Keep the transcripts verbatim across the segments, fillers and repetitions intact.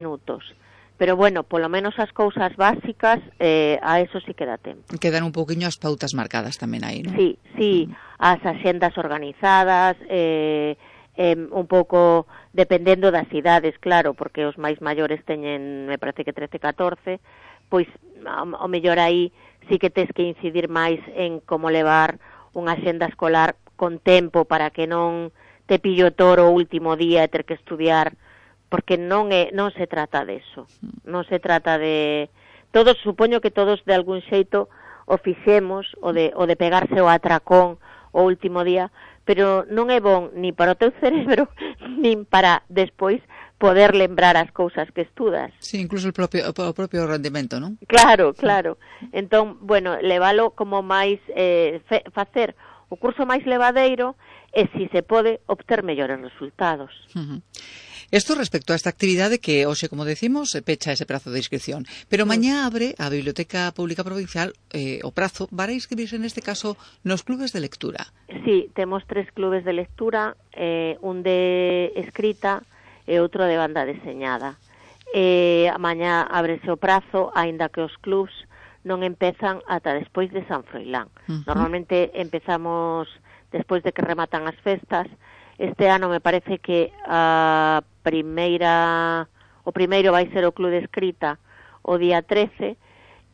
minutos. Pero bueno, polo menos as cousas básicas, eh, a eso sí que dá tempo. Quedan un pouquiño as pautas marcadas tamén aí, non? Sí, sí, mm. as axendas organizadas, eh, eh, un pouco dependendo das idades, claro, porque os máis maiores teñen, me parece que trece, catorce, pois o mellor aí sí que tes que incidir máis en como levar unha axenda escolar con tempo para que non te pillo toro o último día e ter que estudiar, porque non é non se trata de eso. Non se trata de todos, supoño que todos de algún xeito o fixemos o de o de pegarse o atracón o último día, pero non é bon ni para o teu cerebro nin para despois poder lembrar as cousas que estudas. Sí, incluso o propio o propio rendimento, non? Claro, claro. Entón, bueno, levalo como máis eh, fe, facer o curso máis levadeiro e, se se pode, obter mellores resultados. Uh-huh. Isto respecto a esta actividade que hoxe, como decimos, pecha ese prazo de inscripción. Pero sí. Mañá abre a Biblioteca Pública Provincial eh, o prazo para inscribirse, neste caso, nos clubes de lectura. Sí, temos tres clubes de lectura, eh, un de escrita e outro de banda deseñada. Eh, mañá ábrese o prazo, aínda que os clubs non empezan ata despois de San Froilán. Uh-huh. Normalmente empezamos despois de que rematan as festas. Este ano me parece que a primeira o primeiro vai ser o club de escrita o día trece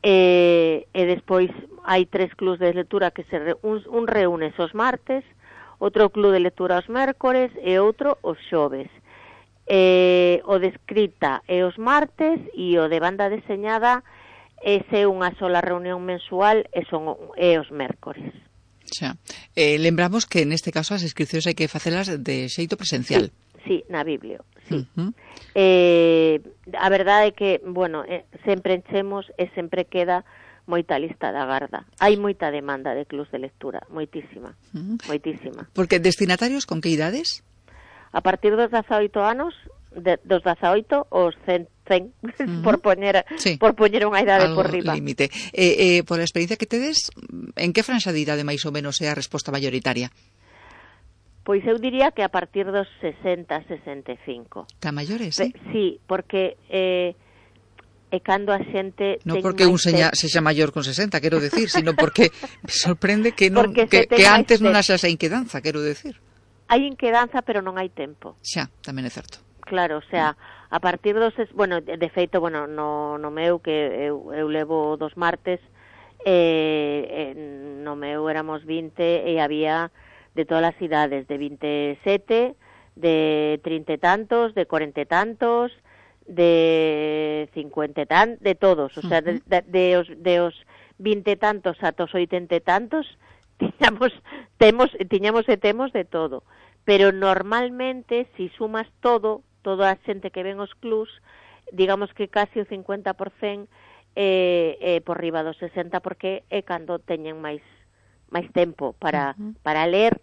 e, e despois hai tres clubs de lectura que se re, un, un reúne os martes, outro club de lectura os mércores e outro os xoves. E, o de escrita é os martes e o de banda deseñada ese é unha sola reunión mensual e son é os mércores. Xa. Eh, lembramos que neste caso as inscripcións hai que facelas de xeito presencial. Sí, sí, na Biblio, sí. Uh-huh. Eh, a verdade é que, bueno, eh, sempre enchemos e sempre queda moita lista da garda. Hai moita demanda de clubs de lectura, moitísima, uh-huh. moitísima. Porque destinatarios con que idades? A partir dos dezaoito anos, de, dos dezaoito aos cen, cen uh-huh. por poñer sí. por poñer unha idade algo por riba. Límite. Eh, eh, por a experiencia que tedes, en que franxa de idade máis ou menos é a resposta mayoritaria? Pois eu diría que a partir dos sesenta, sesenta e cinco. Tan maiores, sí? Sí, porque eh, é cando a xente... Non porque un seña, sexa maior con sesenta, quero decir, sino porque me sorprende que non que, que antes non haxa esa inquedanza, quero decir. Hai inquedanza, pero non hai tempo. Xa, tamén é certo. Claro, o sea, a partir dos... Bueno, de feito, bueno, no, no meu, que eu, eu levo dos martes, eh, eh, no meu éramos vinte e había de todas as idades, de vinte e sete, de trinta e tantos, de cuarenta e tantos, de cincuenta e tantos, de todos, o sea, de, de, de, os, de os vinte e tantos ata os oitenta e tantos, tiñamos, temos, tiñamos e temos de todo. Pero normalmente, si sumas todo, toda a xente que ven os clubs, digamos que casi o cincuenta por cento é, é por riba do sesenta, porque é cando teñen máis máis tempo para, uh-huh. para ler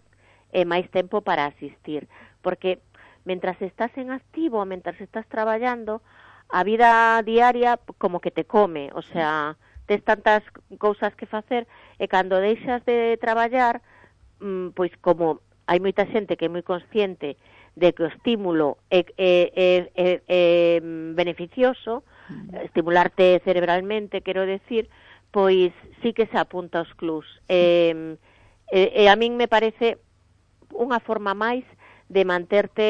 e máis tempo para asistir. Porque mentras estás en activo, mentras estás traballando, a vida diaria como que te come, o sea, tes tantas cousas que facer, e cando deixas de traballar, pois como hai moita xente que é moi consciente de que o estímulo é, é, é, é, é beneficioso, uh-huh. estimularte cerebralmente, quero decir, pois sí que se apunta aos clubs. E, e, e a min me parece unha forma máis de manterte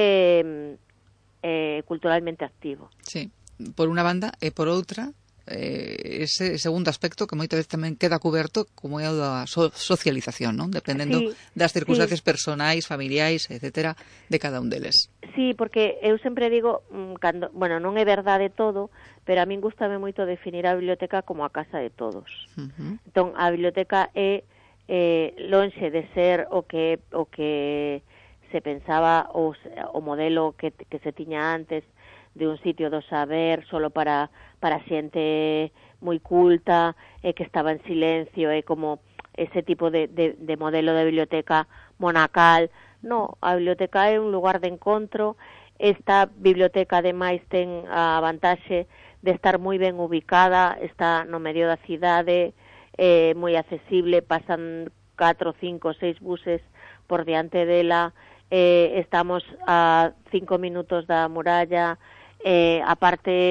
eh, culturalmente activo. Sí, por unha banda, e por outra, eh, ese segundo aspecto que moitas veces tamén queda cuberto, como é o da so socialización, non? Dependendo sí, das circunstancias sí. personais, familiares, etcétera, de cada un deles. Sí, porque eu sempre digo, cando, bueno, non é verdade todo, pero a min gustame moito definir a biblioteca como a casa de todos. Uh-huh. Entón, a biblioteca é eh, lonxe de ser o que o que se pensaba o, o modelo que, que se tiña antes de un sitio do saber solo para para xente moi culta e que estaba en silencio, é como ese tipo de, de, de modelo de biblioteca monacal. No, a biblioteca é un lugar de encontro. Esta biblioteca ademais ten a vantaxe de estar moi ben ubicada, está no medio da cidade, é moi accesible, pasan catro, cinco, seis buses por diante dela, eh, estamos a cinco minutos da muralla, eh, aparte